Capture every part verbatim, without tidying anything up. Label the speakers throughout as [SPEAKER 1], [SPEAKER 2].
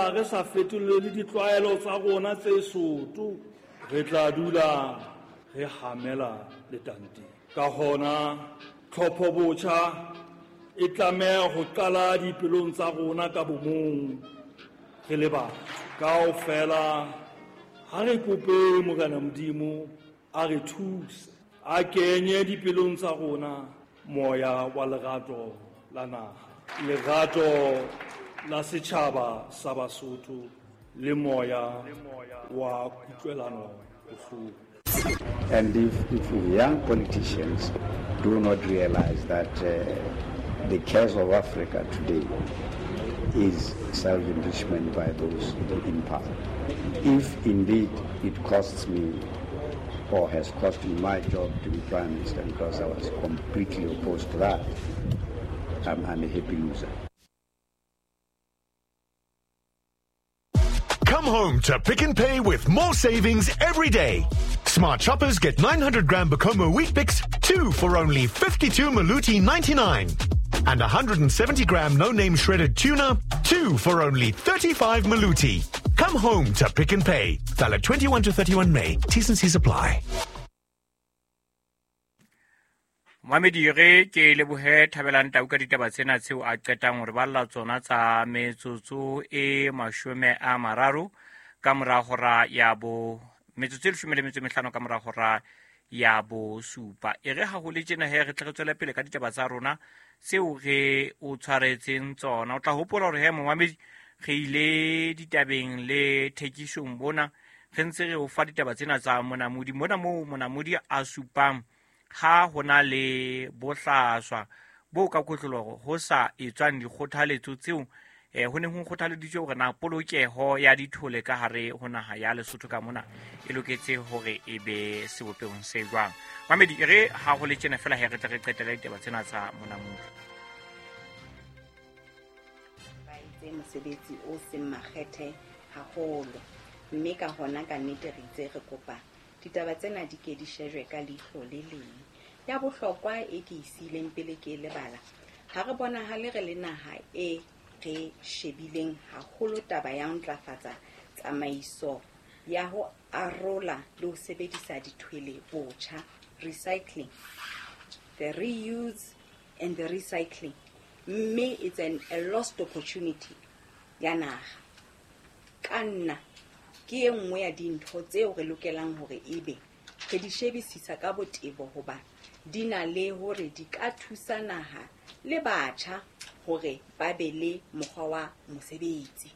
[SPEAKER 1] feela re sa fetolele ditlwaelo tsa rona tse soto, re tla dula re hamela letanteng. Ka hona tlhopho botjha e tlameha ho qala dipelong tsa rona ka bomong re le batho. Kaofela ha re kope Morena Modimo a re thuse, a kenye dipelong tsa rona moya wa lerato la naha, lerato la setjhaba sa Basotho le moya wa kutlwelano bohloko.
[SPEAKER 2] And if, if young politicians do not realize that uh, the case of Africa today is self-enrichment by those in power. If indeed it costs me or has cost me my job to be Prime Minister because I was completely opposed to that, I'm, I'm a happy loser.
[SPEAKER 3] Come home to Pick n Pay with more savings every day. Smart shoppers get nine hundred gram Bokomo Wheat Bix, two for only fifty-two Maluti ninety-nine. And one hundred seventy gram no-name shredded tuna, two for only thirty-five Maluti. Come home to Pick n Pay. Valid twenty-one to thirty-one May. T's and C's apply.
[SPEAKER 4] Mamedi re ke lebohe Thabelang Tau ka ditaba tsena tseo a qetang hore ba lla tsona tsa metsotso e mashome a mararo ka mora hora ya bo metsotso e leshome le metso e mehlano ka mora hora ya bo supa. E re ha ho le tjena he re tle re tswele pele ka ditaba tsa rona tseo re o tshwaretseng tsona. O tla hopola hore he momamedi re ile ditabeng le thekisong bona re ntse re o fa ditaba tsena tsa monamodi mona moo monamodi a supang ha hona le bohlaswa bo ka kotloloho ho sa etswang dikgothaletso tseo eh ho neng ho kgothaleditswe hore na polokeho ya dithole ka hare ho naha ya Lesotho ka mona e loketse hore e be sebopehong se jwang. Mamedi e re ha ho le tjena fela he re tle re qetele ditaba tsena tsa monamodi.
[SPEAKER 5] Ba itse mosebetsi o seng makgethe haholo, mme ka hona ka nnete re itse re kopa ditaba tsena di ke di shejwe ka leihlo le leng. Ya bohlokwa e ke isileng pele ke lebala, ha re bonahale re le naha e re shebileng haholo taba ya ho ntlafatsa tsamaiso ya ho arola le ho sebedisa dithwele botjha, recycling, the reuse and the recycling, mme it's an, a lost opportunity ya naha. Ka nna ke e nngwe ya dintho tseo re lokelang hore ebe re di shebisisa ka botebo hoba di na le hore di ka thusa naha le batjha hore ba be le mokgwa wa mosebetsi.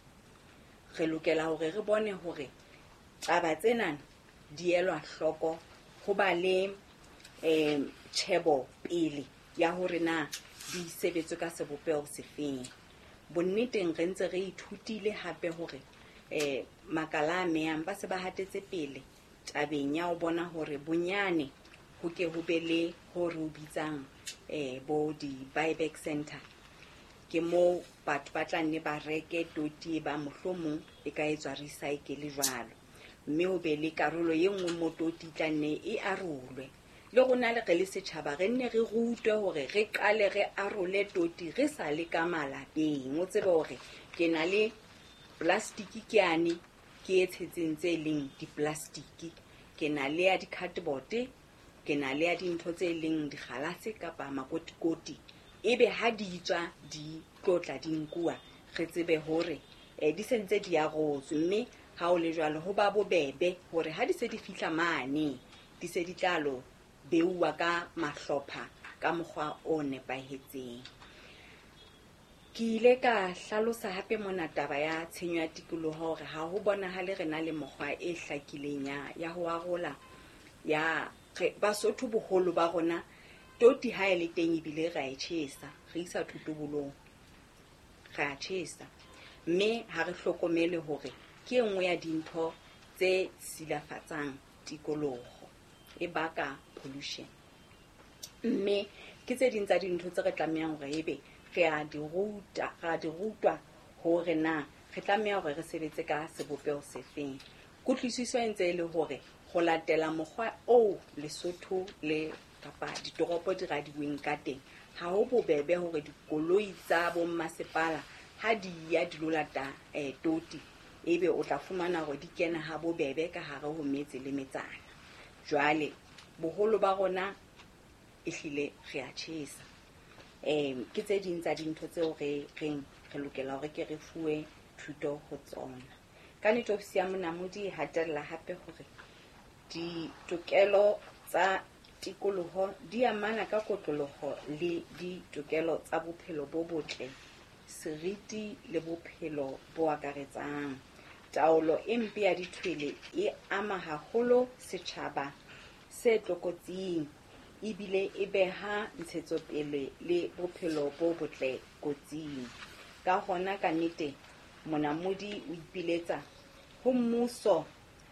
[SPEAKER 5] Re lokela hore re bone hore taba tsena di elwa hloko, ho ba le eh tjhebo pele ya hore na di sebetswe ka sebopeho sefeng. Bonneteng re ntse re ithutile hape hore eh makala a meyang ba se ba hatetse pele tabeng ya ho bona hore bonyane ho ke ho be le ho re o bitsang eh bo di-buyback center. Ke moo batho ba tla nne ba reke toti ba mohlomong e ka etswa recycle jwalo, mme ho be le karolo e nngwe mo toti tla nne e arolwe. Le rona le re le setjhaba re nne re rutwe hore re qale re arole toti re sa le ka malapeng. O tsebe hore ke na le plastiki ke ane ke e tshetseng tse leng diplastiki, ke na le ya di-cardboard, ke na le ya dintho tse leng dikgalase kapa makotikoti. Ebe ha di tswa di tlotla di nkuwa, re tsebe hore eh, di sentse di arotswe, mme ha o le jwalo ho ba bobebe hore ha di se di fihla mane di se di tla lo beuwa ka mahlopha ka mokgwa o nepahetseng. Ke ile ka hlalosa hape mona taba ya tshenyo ya tikoloho hore ha ho bonahale re na le mokgwa e hlakileng ya, ya ho arola ya re, Basotho boholo ba rona toti ha e le teng ebile ra e tjhesa, re isa thotobolong, re a tjhesa, mme ha re hlokomele hore ke e nngwe ya dintho tse silafatsang tikoloho, e baka pollution. Mme ke tse ding tsa dintho tse re tlamehang hore ebe re a di ruta, re a di rutwa hore na re tlameha hore re sebetse ka sebopeho sefeng. Kutlwisiso e ntse e le hore ho latela mokgwa oo Lesotho le kapa ditoropo di radiweng ka teng, ha ho bobebe hore dikoloi tsa bommasepala Ha di ya di lo lata eh toti, ebe o tla fumana hore di kena ha bobebe ka hare ho metse le metsana. Jwale boholo ba rona ehlile re a tjhesa. Em ke tse ding tsa dintho tseo re reng re lokela hore ke re fuwe thuto ho tsona. Ka nnete ofisi ya Monamodi e hatella hape hore ditokelo tsa tikoloho di amana ka kotloloho le ditokelo tsa bophelo bo botle, seriti le bophelo bo akaretsang. Taolo e mpe ya dithwele e ama haholo setjhaba se tlokotsing, ebile e beha ntshetsopele le bophelo bo botle kotsing. Ka hona ka nnete Monamodi o ipiletsa ho mmuso,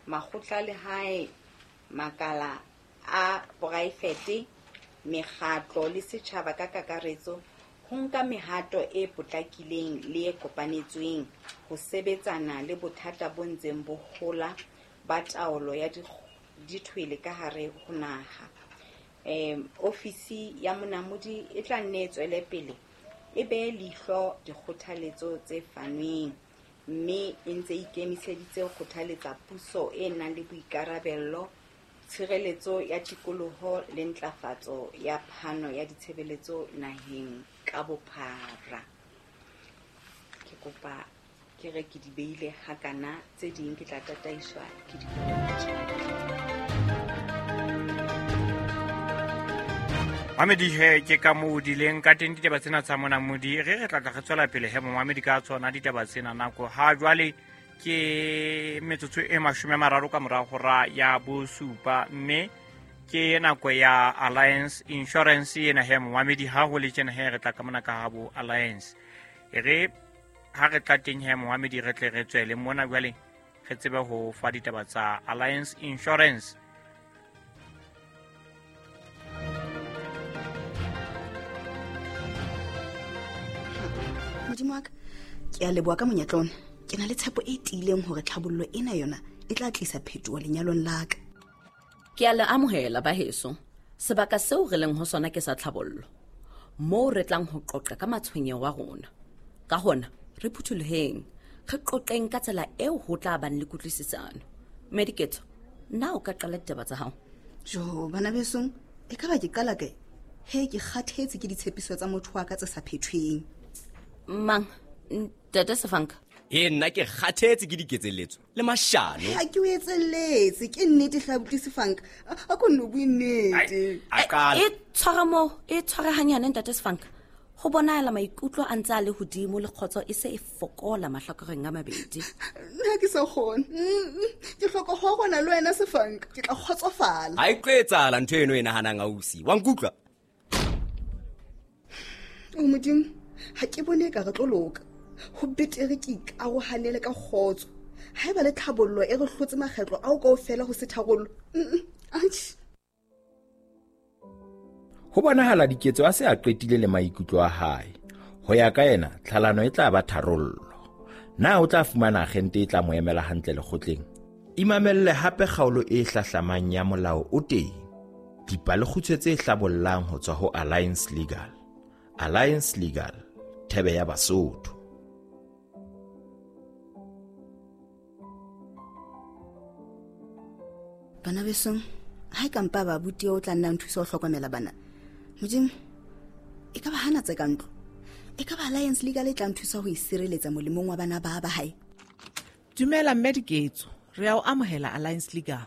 [SPEAKER 5] makgotla a lehae, makala a poraefete, mekgatlo le setjhaba ka kakaretso ho nka mehato e potlakileng le e kopanetsweng ho sebetsana le bothata bo ntseng bo hola ba taolo ya dithwele ka hare ho naha. Em ofisi ya Monamodi e tla nne e tswele pele e behe leihlo dikgothaletso tse fanweng, mme e ntse ikemiseditse ho kgothaletsa puso e nang le boikarabello, tshireletso ya tikoloho le ntlafatso ya phano ya ditshebeletso naheng ka bophara. Ke kopa ke re ke di beile hakana, tse ding ke tla tataiswa ke dipotso.
[SPEAKER 4] Mamedi he ke ka moo di leng ka teng ditaba tsena tsa Monamodi. Re re tla tla re tswela pele he momamedi ka tsona ditaba tsena. Nako ha jwale ke metsotso e mashome a mararo ka mora hora ya bosupa, mme ke nako ya Alliance Insurance ena he momamedi. Ha ho le tjena he re tla ka mona ka ha bo Alliance. E re ha re tla teng he momamedi re tle re tswele mona jwale re tsebe ho fa ditaba tsa Alliance Insurance.
[SPEAKER 6] Modimo wa ka, ke a leboha ka monyetla ona. Ke na le tshepo e tiileng hore tlhabollo ena yona e tla tlisa phetoho lenyalong la ka.
[SPEAKER 7] Ke a le amohela baheso. Sebaka seo re leng ho sona ke sa tlhabollo, moo re tlang ho qoqa ka matshwenyeho a rona. Ka hona re phuthuloheng, re qoqeng ka tsela eo ho tla bang le kutlwisisano. Mediketso, na o ka qala ditaba tsa hao?
[SPEAKER 6] Jo, bana besong, e ka ba ke qala kae? He, ke kgathetse ke ditshepiso tsa motho wa ka tse sa phethweng.
[SPEAKER 7] Mang, ntate Sefanka?
[SPEAKER 8] E nna ke kgathetse ke diketselletso le mashano.
[SPEAKER 6] Ha ke o etselletse, ke nnete hle abuti Sefanka. A ko nno bue nnete.
[SPEAKER 7] E tshware moo, e tshware hanyane ntate Sefanka. Ho bonahala maikutlo a ntse a le hodimo le kgotso e se e fokola mahlakoreng a mabedi.
[SPEAKER 6] Nna ke sa kgone. Ke hloka ho rona le wena Sefanka, ke tla kgotsofala.
[SPEAKER 8] Ha e tlo etsahala ntho eno e nahanang ausi. Wa nkutlwa?
[SPEAKER 6] O Modimo, ha ke bone ka re tlo loka. Ho betere ke ikarohanele ka kgotso. Haeba le tlhabollo e re hlotse makgetlo ao kaofela ho se tharollo. Atjhe.
[SPEAKER 9] Ho bonahala Diketso a se a qetile le maikutlo a hae. Ho ya ka yena, tlhalano e tla ba tharollo. Na o tla fumana agente e tla mo emela hantle lekgotleng? Imamelle hape kgaolo e hlahlamang ya Molao o Teng. Dipalekgutshwe tse hlabollang ho tswa ho Alliance Legal. Alliance Legal, thebe ya Basotho.
[SPEAKER 6] Bana besong, ha e ka mpa ba abuti o tla nna nthusa ho hlokomela bana. Modimo, e ka ba hana tse ka ntlo. E ka ba Alliance Legal e tla nthusa ho isireletsa molemong wa bana ba ba hae.
[SPEAKER 10] Dumela mme Diketso, re a o amohela Alliance Legal.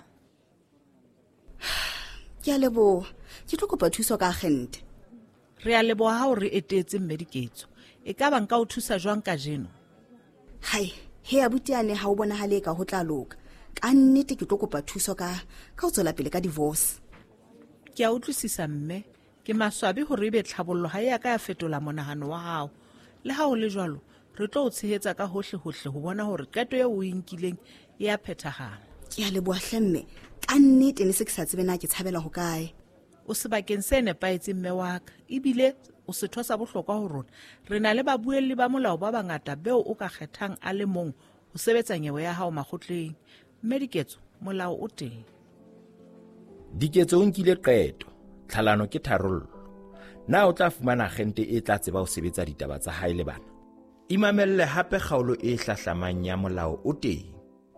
[SPEAKER 6] Ke a leboha. Ke tlo kopa thuso ka agente.
[SPEAKER 10] Re a leboha ha o re etetse mme Diketso. E ka ba nka o thusa jwang kajeno?
[SPEAKER 6] Hai, he abuti ane ha o bonahale ka ho tla loka. Ka nnete ke tlo kopa thuso ka ka ho tswela pele ka divorce.
[SPEAKER 10] Ke a utlwisisa mme, ke maswabi hore ebe tlhabollo ha e a ka ya fetola monahano wa hao. Le ha ho le jwalo, re tlo o tshehetsa ka hohle hohle ho bona hore qeto eo o e nkileng e a phethahala.
[SPEAKER 6] Ke a leboha hle mme, ka nnete ne se ke sa tsebe na ke tshabela ho kae.
[SPEAKER 10] O sebakeng se nepahetseng mme wa ka, ebile o setho sa bohlokwa ho rona. Re na le babuelli ba molao ba bangata beo o ka kgethang a le mong ho sebetsa nyewe ya hao makgotleng. Mme Diketso, molao o teng.
[SPEAKER 9] Diketso o nkile qeto, tlhalano ke tharollo. Na o tla fumana agente e tla tseba ho sebetsa ditaba tsa hae le bana? Imamelle hape kgaolo e hlahlamang ya Molao o Teng,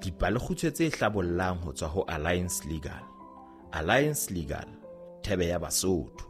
[SPEAKER 9] dipalekgutshwe tse hlabollang ho tswa ho Alliance Legal. Alliance Legal, thebe ya Basotho.